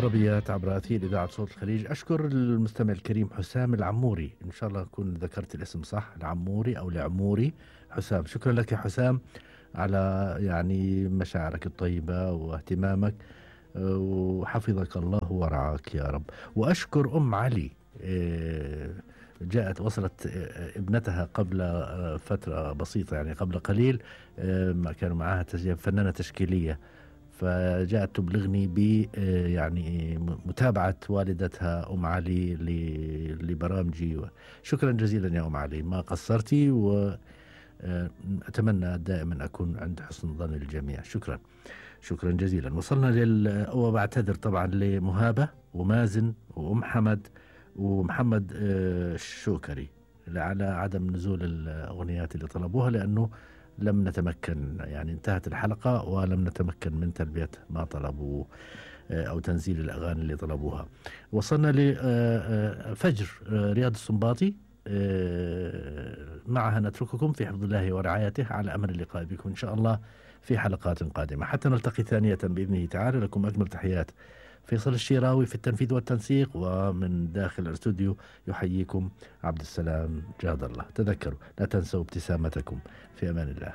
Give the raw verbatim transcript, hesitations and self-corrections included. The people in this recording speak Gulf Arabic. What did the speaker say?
طربيات عبر أثير إذاعة صوت الخليج. أشكر المستمع الكريم حسام العموري، إن شاء الله أكون ذكرت الاسم صح، العموري أو العموري. حسام، شكرا لك يا حسام على يعني مشاعرك الطيبة واهتمامك، وحفظك الله ورعاك يا رب. وأشكر أم علي، جاءت وصلت ابنتها قبل فترة بسيطة، يعني قبل قليل، كانوا معها تسجيل، فنانة تشكيلية، فجاءت تبلغني ب يعني متابعة والدتها أم علي لبرامجي. شكرا جزيلا يا أم علي، ما قصرتي، وأتمنى دائما أكون عند حسن ظن الجميع. شكرا شكرا جزيلا. وصلنا لل وبعتذر طبعا لمهابة ومازن وأم حمد ومحمد الشوكري على عدم نزول الأغنيات اللي طلبوها، لأنه لم نتمكن، يعني انتهت الحلقة ولم نتمكن من تلبية ما طلبوا أو تنزيل الأغاني اللي طلبوها. وصلنا لفجر رياض السنباطي، معها نترككم في حفظ الله ورعايته، على أمل اللقاء بكم إن شاء الله في حلقات قادمة. حتى نلتقي ثانية بإذنه تعالى، لكم أجمل تحيات فيصل الشيراوي في التنفيذ والتنسيق، ومن داخل الاستوديو يحييكم عبد السلام جاد الله. تذكروا لا تنسوا ابتسامتكم. في أمان الله.